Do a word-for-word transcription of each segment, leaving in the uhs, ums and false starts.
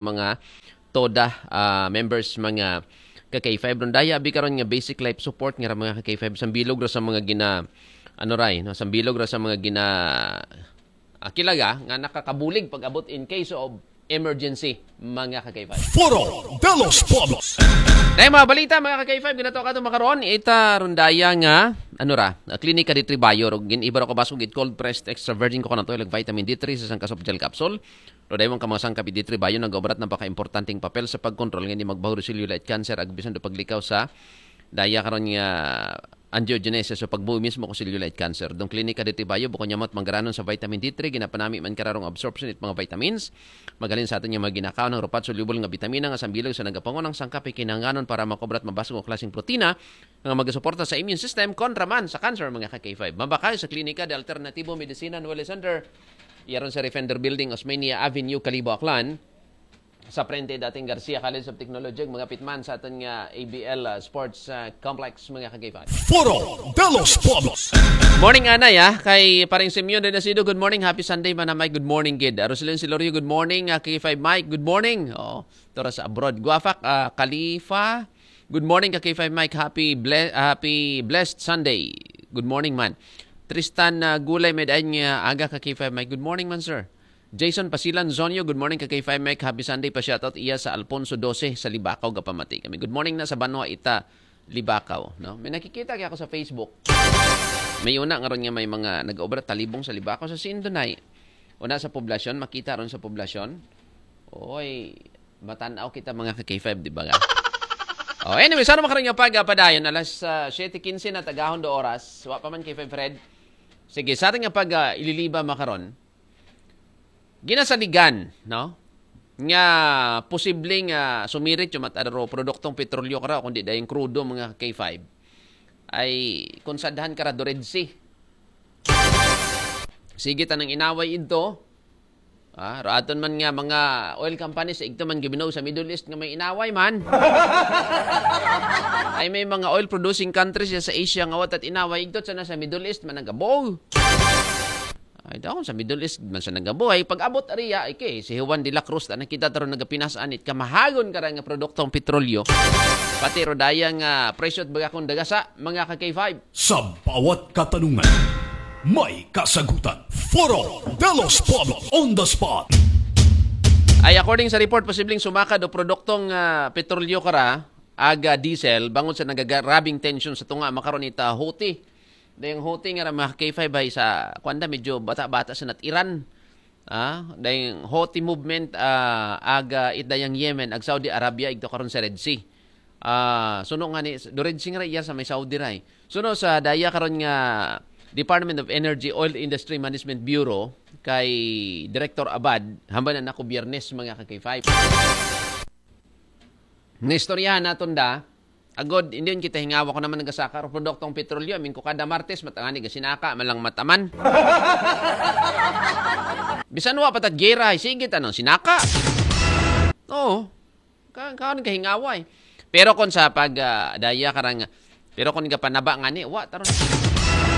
mga TODA ah, members, mga ka-K five. Rondaya abi karon nga basic life support nga ra, mga ka-K five, sambilog ra sa mga gina ano ray, no? Sambilog ra sa mga gina ah, kilaga nga nakakabulig pag-abot in case of emergency, mga ka-K five. Foro de los Pueblos. Na mga balita, mga ka-K five, ginato ka makaron ita rondaya nga ano ra, ah, klinika di Tribayo, ro gin-iba ra ko baso gid cold pressed extra virgin coconut oil ug vitamin D three sa sangka soft gel capsule. Ro dayon ka mga sangkap di Tribayo nagaobrat na paka importanteng papel sa pagkontrol nga hindi magbaho ro cellulite cancer ag bisan do paglikaw sa daya karon nga angiogenesis o pagbuhi mismo ko cellulite cancer. Dong klinika di Tribayo, bukod niya mat manggaranon sa vitamin D three, ginapanami man kararong absorption it mga vitamins. Magalin sa aton nga mga ginakaon ng rupat soluble nga bitamina nga sambilog sa nagapangunang sangkap kinahanglanon para makobrat mabasog o klaseng protina nga magasuporta sa immune system kontra man sa cancer, mga ka-K five. Mabakay sa Klinika de Alternativo Medicina Noel Center. Yaron sa Refender Building, Osmeña Avenue, Kalibo, Aklan. Sa prente dating Garcia College of Technology, mga pitman sa aton nga A B L ah, Sports ah, Complex, mga ka-K five. Foro de los Pueblos. Morning, Anay, ah. Kay Paring Simeon de Nacido, good morning. Happy Sunday, Mana Mike. Good morning, gid. Ah, Roselyn Silorio, good morning. Ah, K five Mike, good morning. Oh, Torres abroad. Guafak, ah, Khalifa, good morning ka K five Mike. Happy ble- happy blessed Sunday. Good morning man. Tristan ah, Gulay, may daing nga aga ka K five Mike. Good morning man, sir. Jason Pasilan Zonyo, good morning ka K five Mike. Happy Sunday pa, shoutout iya sa Alfonso twelve sa Libacao, gapamati kami. Good morning na sa banwa ita Libacao, no? May nakikita kaya ako sa Facebook. May una nga ron nga may mga nag-obra talibong sa Libacao sa Sindonay. Una sa poblasyon, makita ron sa poblasyon. Oy, matanaw kita mga ka K five, di ba nga? Oh, anyway, sana makaroon nga pag ah, padayon alas ah, siyete quince na tagahon do oras. Wa pa man K five Fred. Sige, sa ating nga pag ah, ililiba makaron. Ginasaligan, no? Nga posibleng ah, sumirit yung matadaro produktong petrolyo kara kundi dayong krudo, mga K five. Ay kung sadhan kara do Red Sea. Sige tanang inaway idto. Ah, raton man nga mga oil companies igto man gibinaw sa Middle East nga may inaway man. Ay may mga oil producing countries ya sa Asia nga watat inaway igto sa na sa Middle East man nagabaw. Ay daw sa Middle East man sa nagabaw. Ay pag-abot ariya ay kay si Juan de la Cruz ta nakita taro nagapinas-an it kamahagon kara nga produktong petrolyo. Pati rodaya nga presyo at baga kung dagasa, mga ka K five. Sa bawat katanungan, may kasagutan. Foro de los Pueblos on the spot. Ay according sa report, posibleng sumakad o produktong ah, petrolyo kara, aga diesel, bangod sa nagagarabing tension sa tunga makaron ita Houthi. Dayang Houthi nga ra mga K five ay sa kwanda medyo bata-bata sa nat Iran. Ah, dayang Houthi movement ah, aga it dayang Yemen ag Saudi Arabia igto karon sa Red Sea. Ah, suno nga ni do Red Sea nga ra iya sa may Saudi ray. Suno sa daya karon nga Department of Energy Oil Industry Management Bureau kay Director Abad, hamba na nako Biyernes, mga ka K five. Naistoryahan naton da, agod, hindi yun kita hingawa ko naman nagasaka ro produktong petrolyo, amin ko kada Martes, matangani ga sinaka, malang mataman. Bisan wa patat gera, ay sige, tanong sinaka. Oo. Ka kaon ka hingawa eh. Pero kung sa pag ah, daya karang pero kung gapanaba nga ni wa taron.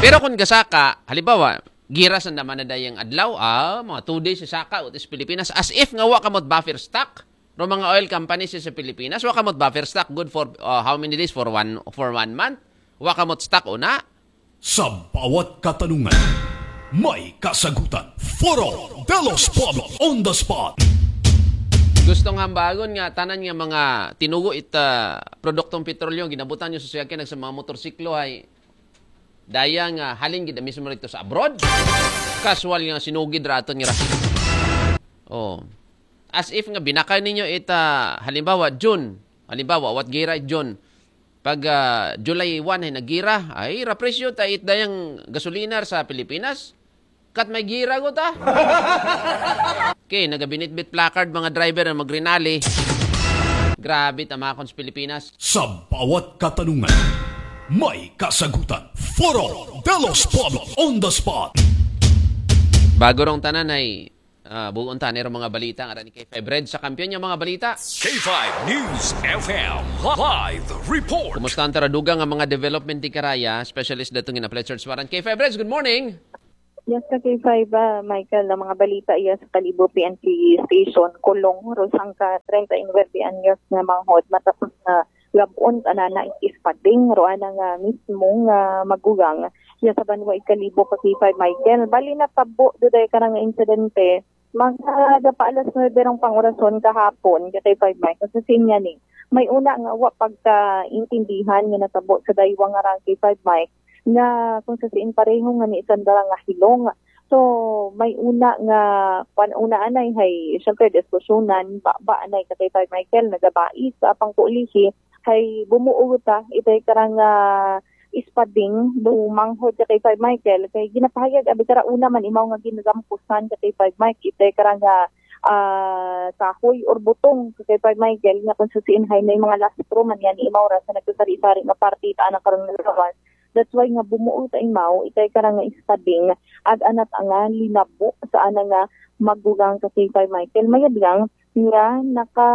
Pero kung gasaka, halimbawa, giras ang naman na dayang adlaw, ah, mga two days sa saka utis Pilipinas as if nga wa kamot buffer stock. Ro mga oil companies sa Pilipinas, wa kamot buffer stock good for ah, how many days? For one for one month. Wa kamot stock una. Sa bawat katanungan, may kasagutan. Foro de los Pueblos on the spot. Gusto nga hambagon nga tanan nga mga tinugo it ah, produktong petrolyo ginabutan nyo sa suyakyan ag sa mga motorsiklo ay daya nga halin gid mismo rito sa abroad. Casual nga sinugid ra aton nga ra. Oh. As if nga binakay ninyo it ah, halimbawa June. Halimbawa, what gira June? Pag ah, July one ay nagira, ay rapresyo ta it dayang gasolina sa Pilipinas. Kat may gira ko ta. Okay, nagabinitbit placard mga driver na magrinali. Grabe tamakon sa Pilipinas. Sa bawat katanungan, may kasagutan. Foro de los Pueblos on the spot. Bago rong tanan ay ah, buon tanero mga balita nga ni K five Red sa kampiyon niya mga balita. K five News F M live report. Kumusta ang taraduga nga mga development di karaya? Specialist datong in Applied Search Warrant. K five Reds, good morning. Yes, ka K five, ah, Michael, ang mga balita iya sa Kalibo P N P Station, kulong, rosang ka treinta y nueve anyos nga manghod, matapos na gabon, anana, ispading, roana nga mismo nga magugang, iya sa banwa i Kalibo ka K five, Michael. Bali, natabo, duday ka nga insidente, mga dapa alas nuebe rong pangurason kahapon, ka K five Mike, kasi sinya ni, may una nga wa pagkaintindihan nga natabo sa daywa nga rang K five Mike, nga kung sa siin pareho nga ni isang dara nga hilong. So, may una nga, kwan, una anay, hay, syempre, diskusyonan, ba, ba anay ka K five Michael, nagabais, sa apang kulihi, hay, bumuo ta, itay karang, ah, ispading, do manghod ka K five Michael, kay ginapahayag, abi kara una man, imaw nga ginagampusan ka K five Mike, itay karang, ah, ah, kahoy or butong ka K five Michael, nga kung sa siin hay, may mga lastro man yan, imaw ra sa nagkasari-sari nga parte, ita na karong nagawas. That's why nga bumuo ta imaw, itay karang nga ispading, ag anat anga linabo sa ana nga magugang ka K five Michael. Mayad lang nga naka,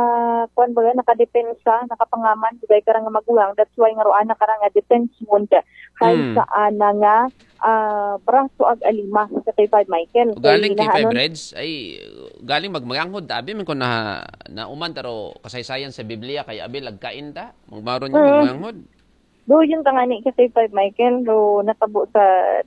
kwan ba, nakadepensa, nakapangaman, itay karang nga magugang. That's why nga roana karang nga defense wound, hay Mm. sa ana nga, ah, braso ag alima ka K five Michael. Galing Kay K five nahanon- Reds, ay galing magmaganghod, abi man ko na nauman taro kasaysayan sa Biblia kay abi lagkain ta, magmaron nga Mm. magmaganghod. Do, yun ka nga ni ka K five Michael, do natabo sa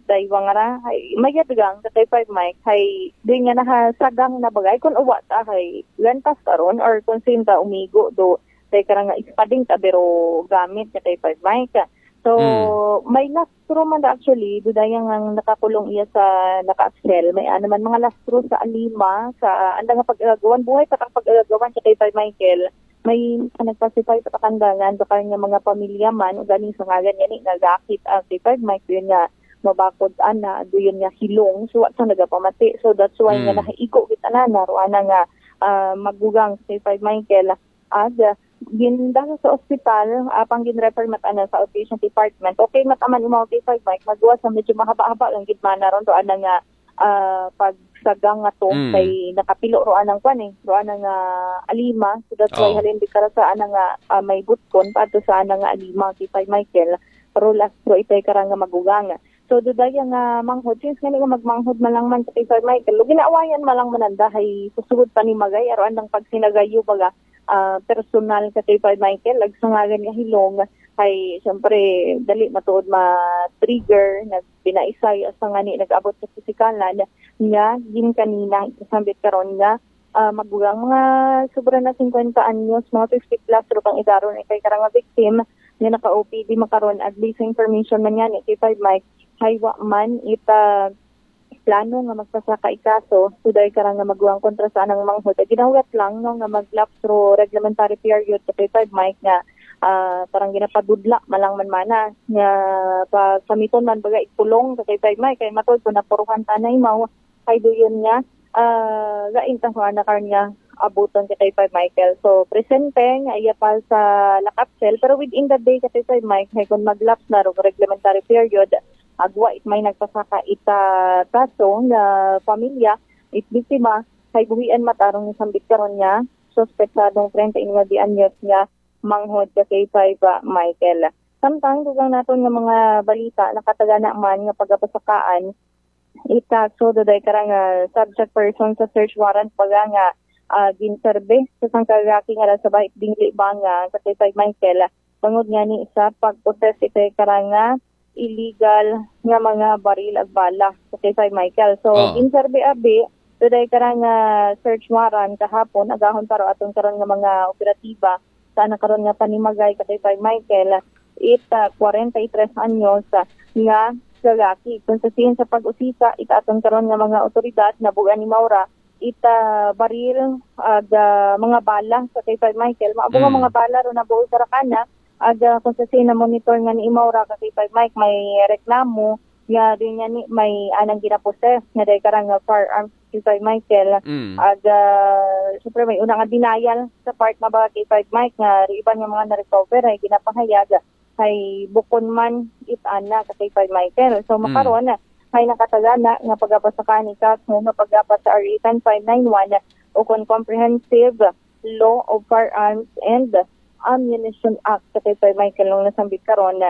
daywa nga ra, hay, mayad lang ka K five Mike, hay, di nga nahasagang na bagay, kung uwa ta, hay, lantas karon, or kung sinta umigo, do, kay karang nga ispading ta, pero gamit ka K five Mike. So, Mm. may lastro man da actually, do dayang ang nakakulong iya sa naka-axle, may ano man, mga lastro sa alima, sa, anda nga pag-agawan, buhay pa kang pag-agawan ka K five Michael, may nagpasipay sa kakandangan, baka nga mga pamilya man, o galing sa ngalan niya ni, nagakit ang K five Mike, yun nga, mabakod ana, do yun nga hilong, so, wa sa nagapamati. So, that's why nga Mm. nahaigo kita na, naruana nga, ah, magugang K five Michael, ag, ah, gindala sa ospital, apang ginrefer mata na sa outpatient department. Okay, mataman imaw K five Mike, magawas sa medyo mahaba-haba lang gid man na ron, roana nga, ah, pagsagang nga to, Mm. kay nakapilo roana ang kwan eh, roana nga alima. So that's why Oh. halin di kara sa ana nga, ah, may butkon, paadto sa ana nga alima, K five Michael, pero lastro itay karang nga magugang. So, dudaya nga manghod, since nga ni nga magmanghod malang man ka K five Michael, lo ginaawayan malang mananda, hay susugod pa ni magay, aroan lang pagsinagayo baga, ah, personal ka K five Michael, ag sa ngalan nga hilong, hay, siyempre, dali matuod ma-trigger, nagbinaisay, asa nga ni nag-abot sa pisikalan, nga, gin kanina, ikasambit karon nga, ah, magugang, mga sobra na fifty anyos, mga fifty plus, ro kang edad ron, kay karang nga victim, nga naka-O P D makaron, ag based sa information man nga ni K five Mike, hay wa man ita plano nga magpasaka ikaso, suday karang nga magugang kontra sa anang manghod. Ag ginahuwat lang, no, nga mag-lapse ro reglementary period ka K five Mike nga, ah, parang ginapadudla, malang man mana, nga pagkamiton man baga ikulong ka K five Mike, kay matod ko napuruhan tanay mao, kay doon nga, ah, lain ta nga karon nga abuton ka K five Michael. So, presente nga iya pa sa lock-up cell, pero within the day ka K five Mike, hay kung mag-lapse na ro reglementary period, agwa it may nagpasaka ita kaso nga pamilya, it biktima, hay buhian matarong ni sambit karon nga suspetsadong treinta y nueve anyos nga manghod ka K five, ah, Michael. Samtang dugang naton nga mga balita, nakatagana man nga pagapasakaan ita, so, duday karang, ah, subject person sa search warrant baga nga, ah, ginserbe sa sangka lalaki nga nasa bahit dingli ba nga sa K five Michael, bangod nga ni sa pag-possess ita karang nga illegal nga mga baril ag bala sa K five Michael. So, Oh. ginserbe abi, duday karang, ah, search warrant kahapon, agahon pa ro aton karon nga mga operatiba, sa ana karon nga panimagay ka K five Michael, it, ah, forty-three anyos, ah, nga lalaki. Kung sa sin sa pag-usisa, it aton karon nga mga otoridad, nabugan ni Maura, it, ah, baril, ag, ah, mga bala sa K five Michael. Maabo nga Mm. mga bala ro nabuo sa rakana, ag, ah, kung sa sin na monitor nga ni Maura ka K five Mike, may reklamo, nga din nga ni may anang ginaposes, nga day karang nga firearms K five Michael. Mm. Ag, ah, syempre, may una nga denial sa part nga baga K five Mike nga riban nga mga na-recover ay ginapahayag ay bukon man it ana ka K five Michael. So, Mm. makaron, ay nakatagana nga pagapasakaan ni kaso nga pagapas sa R A ten five nine one o kon Comprehensive Law of Firearms and Ammunition Act ka K five Michael nung nasambit karon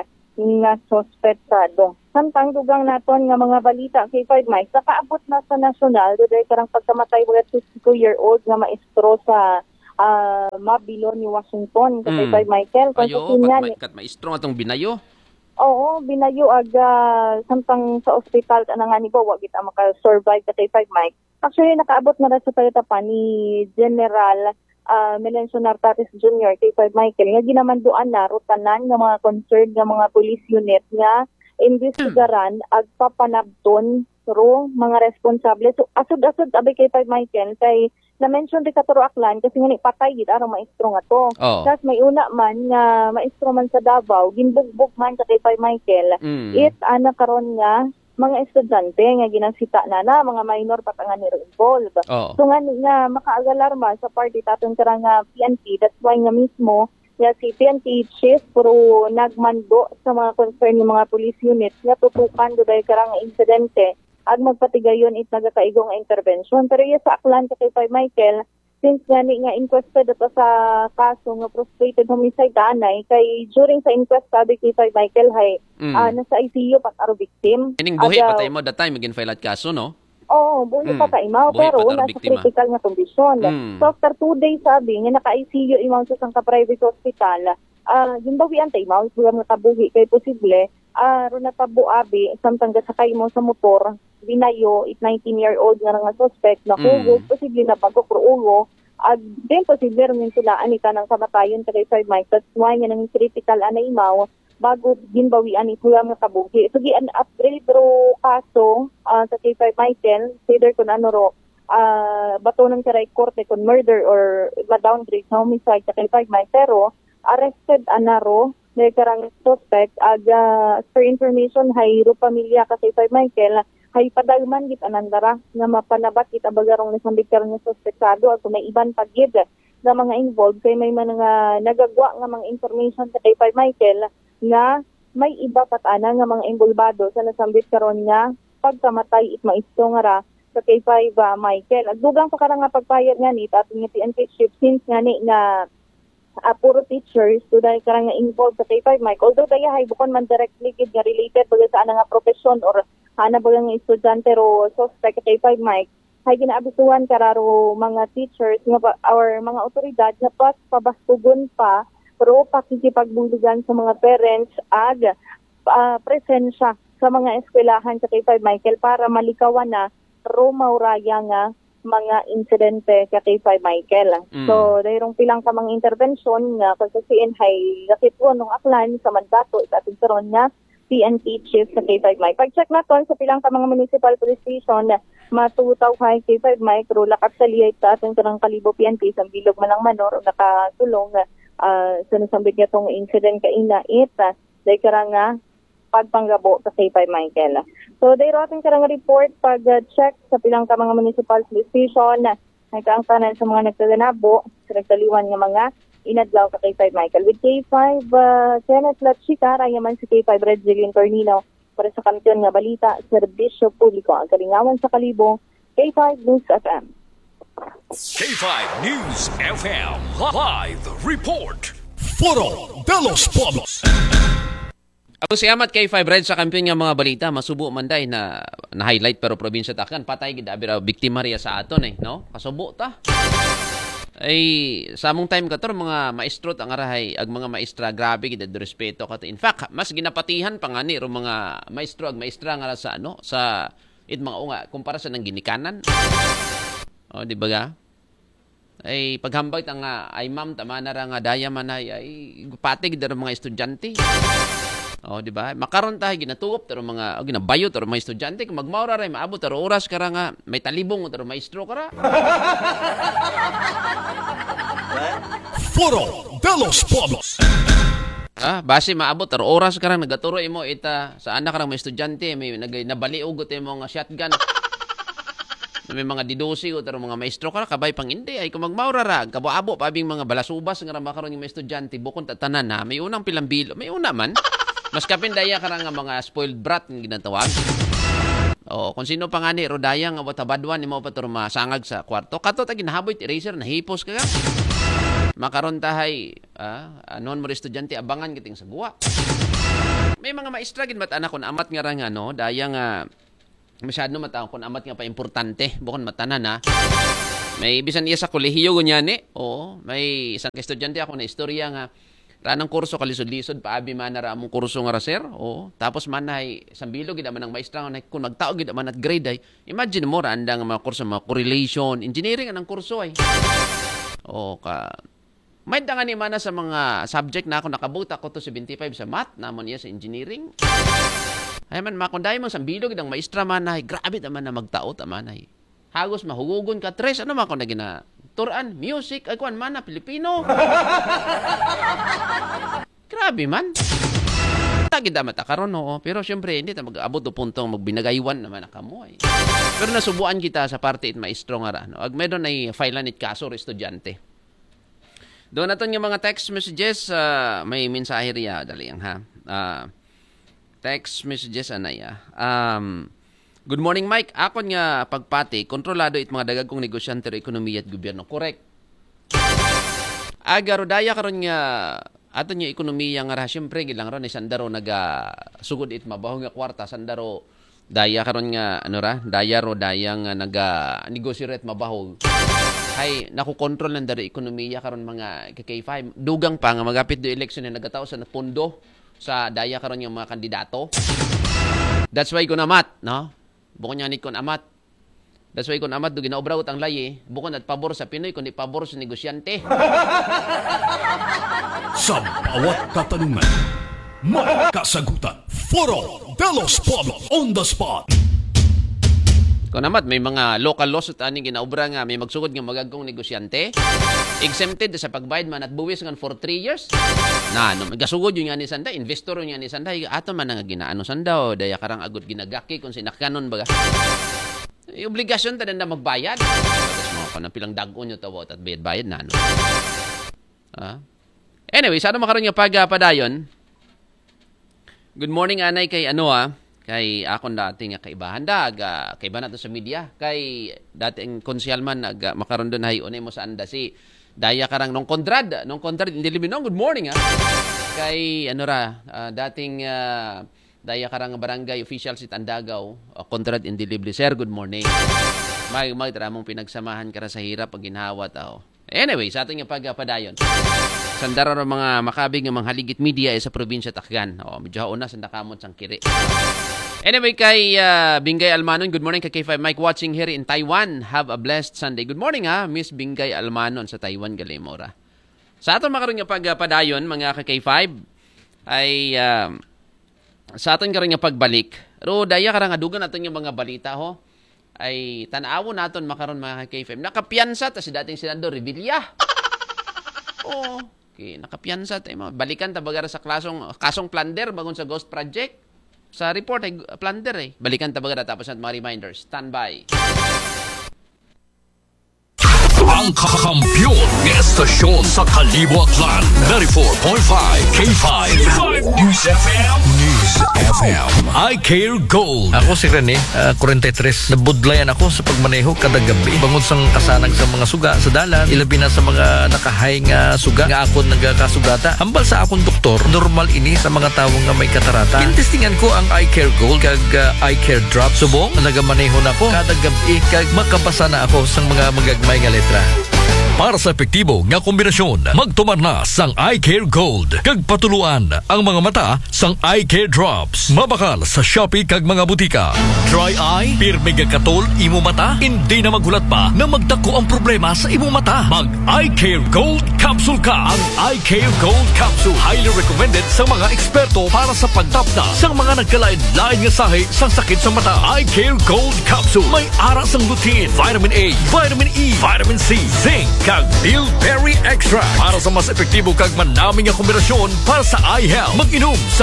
nga suspetsado. Samtang dugang naton nga mga balita, K five Mike, nakaabot na sa nasyonal, duday karang pagkamatay mga twenty-two-year-old nga maestro sa ah, Mabilo ni Washington, K five Michael. Kung Ayo, sa kat, niya, ma- kat maestro atong binayo. Oo, binayo aga samtang sa ospital ka na nga ni ba, wa gid ang maka-survive ka K five Mike. Actually, nakaabot na ra sa pagkatapan ni General ah, Melencio Nartates Junior, K five Michael, nga ginamanduan na ro tanan nga mga concerned nga mga police unit nga imbestigaran ag papanabton ro mga responsable. So, asod-asod abi K five Michael kay na-mention di ka turo Aklan kasi nga ni patay gid arang maestro nga to. Oh. Tapos may una man nga maestro man sa Davao, ginbugbog man sa K five Michael. Mm. It ana karon nga mga estudyante nga ginasita na na, mga minor pa nga niro involved. Oo. So nga ni nga makaagalarma sa party taton karang nga P N P, that's why nga mismo nga si P N P chief pero nagmando sa mga concern ng mga police unit nga tutukan duday karang insidente ag magpatigayon it nagakaigo nga intervention. Pero iya sa Aklan ka K five Michael, since nga ni nga inquested pa sa kaso nga frustrated homicide anay kay during sa inquest sabi K five Michael hay Mm. ah, nasa I C U pa aro victim. Ining buhi Aga- patay mo that time magin file at kaso, no? Oo, buhi Mm. pa ka imaw, Buhi pero pa ta wala sa biktima. Critical nga kondisyon. Mm. So after two days sabi nga naka I C U imaw sa isang ka private hospital, ah, ginbawian ta imaw, wala nga kabuhi kay posible ah, ro natabo abi, samtang gasakay mo sa motor, binayo, it nineteen-year-old nga nga suspect na Mm. hugog, posible na bagok ro ulo, ag then posible ro mintulaan ita ng kamatayon sa K five Michael. That's why nga nang critical anay imaw, bago ginbawian ni Kuya nga kabuhi. So, gi-upgrade ro kaso ah, sa K five Michael, either kung ano ro, ah, bato ng karay korte kung murder or ma-downgrade sa homicide sa K five Michael. Pero, arrested ana ro, may karang suspect, ag ah, as per information, hay ro pamilya ka K five Michael, hay padalman gid anandara nga mapanabat gid abagarong nasambit karang nga suspektado at may iban pa gid nga mga involved kay may mga nagagwa nga mga information sa K five Michael nga may iba patana nga mga involbado sa nasambit karon nga pagkamatay it maestro nga ra sa K five ah, Michael. Agdugang pa karang nga pagpayag nga ni aton nga P N P chief since nga ni nga ah, puro teachers, duday karang nga involved sa K five Mike. Although daya hay bukon man directly gid nga related baga sa ana nga profesyon or ana baga nga estudyante ro suspect sa K five Mike, hay ginaabisuhan kararo mga teachers nga ba, or mga otoridad nga pas pabaskugon pa ro pakikipagbuligan sa mga parents ag ah, presensya sa mga eskwelahan sa K five Michael para malikawan na ro mauraya nga mga insidente ka K five Michael. Mm. So, dayong pilang ka mga intervention nga konsesiin hay lakitwon ng Aklan sa mandato sa ating karon nga P N P chief sa K five Mike. Pag-check naton sa pilang ka mga municipal police station, matutaw hay K five Mike, ro lakat sa liyay sa ating karang Kalibo P N P sa bilog manang manor o nakasulong ah, sa nasambit nga tong incident kaina it ah, day karang nga pagpanggabo sa K five Michael. So, dayro ating karang report pag-check sa pilang ka mga municipal police station, nagkaangtanan sa mga nagkaganabo, sa nagtaliwan nga mga inadlaw ka K five Michael. With K five, ah, Kenneth Lachica, rayaman si K five Red Jillian Tornino para sa kampiyon nga balita, serbisyo publiko, ang kalingawan sa Kalibo, K five News F M. K five News F M live report. Foro de los Pueblos. Ako si Amat K five Red sa kampiyon nga mga balita, masubo man day na na-highlight pero probinsya takan patay gid abi ra biktima riya sa aton eh, no? Kasubo ta. Ay, sa among time kator mga maestro ta nga rahay ag mga maestra grabe gid respeto ka. In fact, mas ginapatihan pa nga ni ro mga maestro ag maestra nga ra sa ano, sa it mga unga kumpara sa nang ginikanan. Oh, di ba ga? Ay paghambag ta nga ay ma'am tama na ra nga daya man ay ay patig daro mga estudyante. Oh, di ba? Makaron ta ginatuop taro mga oh, ginabayo taro mga estudyante kung magmaura ray maabot taro oras kara nga may talibong taro maestro kara. Foro de los Pueblos. Ah, basi maabot taro oras kara nagaturo imo ita sa anak karang mga estudyante may nagay nabaliog imo nga shotgun. May mga didosi o taro mga maestro ka kabay pang hindi ay kung magmaura ra kabo-abo pa abing mga balasubas nga rama karon yung mga estudyante bukon tatanan na may unang pilambilo may una man mas kapin daya ka nga mga spoiled brat nga ginatawag. Oh, kung sino pa nga ni Rodaya nga watabadwan ni mo pa turo masangag sa kwarto kato ta ginahaboy eraser nahipos ka ka. Makaron tahay ah, anon mo estudyante abangan kiting sa guwa. May mga maestra gid mata na kun amat nga ra nga, no, daya nga masyado mata kun amat nga pa importante, bukon matanan na. May bisan iya sa kolehiyo gunya ni. Oo, may isang estudyante ako na istorya nga ranang kurso kalisod-lisod paabi man na ra among kurso nga ra, sir. Oo, tapos man ay sambilo gid man ang maestra nga kun magtao gid man at grade ay. Imagine mo ra andang mga kurso, mga correlation, engineering anang kurso ay. Oo, ka may da nga ni mana sa mga subject na ako nakabuta ko to seventy-five sa math, namon iya sa engineering. Ay man, makunday mong sambilog ang maestra man ay, grabe naman na magtaot, aman ay. Hagos mahugugon ka, tres, ano man ako na gina-, turan, music, ay kuwan man na, Pilipino. Grabe man. Tagid na mata karon, oo. Pero siyempre, hindi ta mag-abot do puntong magbinagaywan naman na kamo, eh. Pero nasubuan kita sa parte it maestro nga ra, no? Ag meron ay file it kaso, re estudyante. Doon naton yung mga text messages, ah, may mensahe riya, dali ang ha. Ah, text messages, anay, ah. Um, "Good morning, Mike. Akon nga pagpati, kontrolado it mga dagagkong negosyante o ekonomiya at gobyerno." Correct. Aga ro daya karon nga aton yung ekonomiya nga ra, siyempre, gilang ron, eh, sandaro naga sugod it mabaho nga kwarta, sandaro daya karon nga, ano ra, daya ro, daya nga naga negosyo ret mabaho. Ay, nakukontrol ng dari ekonomiya karon mga K K five. Dugang pa nga magapit do eleksyon na nagataw sa pundo sa daya karon yung mga kandidato. That's why ko namat, no? Bukon niya ni kon amat. That's why kon amat do ginaobragot ang layi, bukon at pabor sa Pinoy, kundi pabor sa negosyante. Sa bawat katanungan, may kasagutan. Foro de los Pueblos on the spot. Kon amat, may mga local laws at aning ginaobra nga may magsugod nga magagkong negosyante. Exempted sa pagbayad man at buwis ngan for three years. Na, no, gasugod yun nga ni sanda, investor yun nga ni sanda, ato man nga ginaano sanda, o daya karang agot ginagaki kung sinakyanon baga. Ay, obligasyon ta na magbayad. Tapos mga kanang pilang dagon nyo tawa at bayad-bayad na, no? Ah? Anyway, sa ano makaroon nga pagpadayon? Good morning, anay, kay ano, ah, kay akon dati nga kaibahan da, aga, kaiba na to sa media, kay dating konsehal man, aga, makaroon doon, hay, unay mo saan da si Daya Karang Nong Conrad, Nong Conrad, hindi liminong, good morning, ah. Kay, ano ra, ah, dating, ah, Daya Karang Barangay Official si Tandagaw, ah, Conrad Indelible, sir, good morning. May, may, tara mong pinagsamahan ka ra sa hirap, pag ginhawa, tao. Anyway, sa ating pagpadayon. Sandara ro mga makabig nga mga haligit media eh, sa probinsya Takgan. Oh, medyo hauna sa nakamot sang kiri. Anyway, kay ah, Bingay Almanon, good morning kay K five Mike watching here in Taiwan. Have a blessed Sunday. Good morning ha, Miss Bingay Almanon sa Taiwan, Galimora. Sa aton makaroon nga pagpadayon, mga ka K five, ay ah, sa aton karon nga pagbalik, ro daya karang adugan aton nga mga balita ho. Ay, tanawon naton makaron mga ka K five. Nakapiyansa ta si dating Senador Revilla. Oo. Okay, nakapiyansa ta mo. Balikan ta bagara sa klasong, kasong plunder bagon sa Ghost Project. Sa report ay plunder eh. Balikan ta bagara tapos at mga reminders. Standby. Ang kakampiyon ng estasyon sa Kalibo Aklan, ninety-four point five K five News F M. News F M. I Care Gold. Ako si Rene, ah, forty-three. Nabudlayan ako sa pagmaneho kada gabi. Bangod sang kasanag sa mga suga sa dalan, ilabi na sa mga nakahay nga suga nga akon nagakasugata. Hambal sa akong doktor, normal ini sa mga tawo nga may katarata. Gintestingan ko ang Eye Care Gold kag ah, Eye Care Drop. Subong, nagamaneho na ko kada gabi kag makabasa na ako sang mga magagmay nga letra. Para sa epektibo nga kombinasyon, magtumar na sang Eye Care Gold kag patuluan ang mga mata sang Eye Care Drops. Mabakal sa Shopee kag mga butika. Dry eye, pirmi gakatol imo mata, hindi na maghulat pa na magdako ang problema sa imo mata. Mag Eye Care Gold Capsule ka. Ang Eye Care Gold Capsule highly recommended sa mga eksperto para sa pagtapna sa mga nagkalain-lain nga sahi sa sakit sa mata. Eye Care Gold Capsule may ara sang lutein, vitamin A, vitamin E, vitamin C, zinc, kag bilberry extract para sa mas epektibo kag manami nga kombinasyon para sa eye health. Mag-inom sa